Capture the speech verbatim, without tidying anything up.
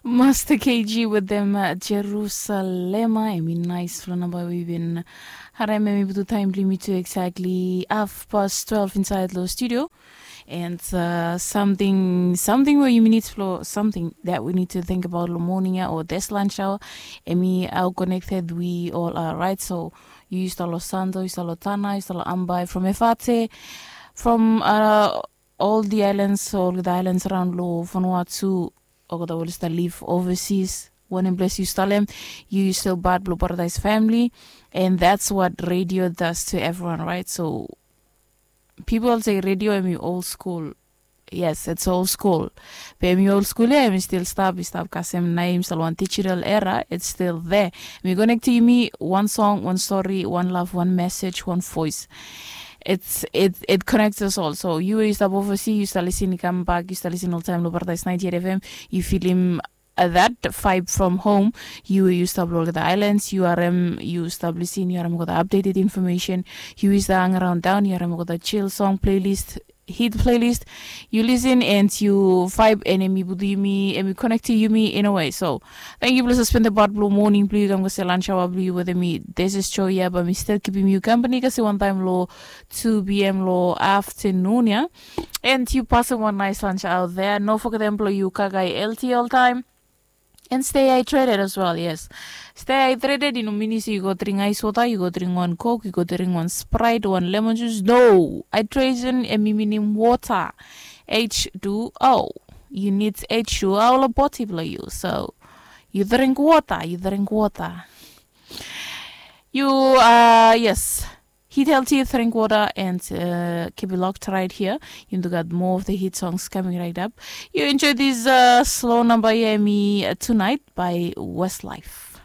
Master K G with them, uh, Jerusalema. Em i nais long namba we yu bin harem em i putu taim bilong mi tu exactly half past twelve inside lo studio. And uh, something something where you need to flow something that we need to think about lo morning ya or this lunch hour. Em i how connected we all are, right? So you used to lo Santo, you used to lo Tana, you used to lo Ambai from Efate, from uh, all the islands, all the islands around lo Vanuatu, olgeta we oli stap live overseas. Wanem ples yu stap long em, yu still part blong Paradise family. And that's what radio does to everyone, right? So people say radio em i old school. Yes, it's old school. Be em i old school ya, em i still stap, i stap kasem naim sal wan digital era, it's still there. Em i connect to yumi one song, one story, one love, one message, one voice. It's it it connects us all. So you yu stap overseas, yu stap listen, i kam back, yu stap listen all time lo Paradise ninety-eight F M. Yu feeling uh, that vibe from home. Yu yu stap lo the islands, yu harem, yu stap listen, yu harem got updated information. Yu is the hang around down, yu harem got the chill song playlist, hit playlist. You listen and you vibe, and em i putu yumi, em i connect to yumi in a way. So thank you blong suspend the part blong morning blong yu kam go se lunch hour blong yu with me. This is Joya, but mi still keeping you company kasi one time lo two p.m. lo afternoon ya. And you pass one nice lunch out there. No forget them blong you kagai L T all time. And stay hydrated as well, yes. Stay hydrated, you know, meaning you go drink ice water, you go drink one Coke, you go drink one Sprite, one lemon juice. No, hydration, em i meaning water. H two O. You need H two O lo body blong yu. So you drink water, you drink water. You uh yes. Hit healthy, drink water, and uh, keep it locked right here. You do got more of the hit songs coming right up. You enjoy this uh, slow number here, me uh, tonight by Westlife.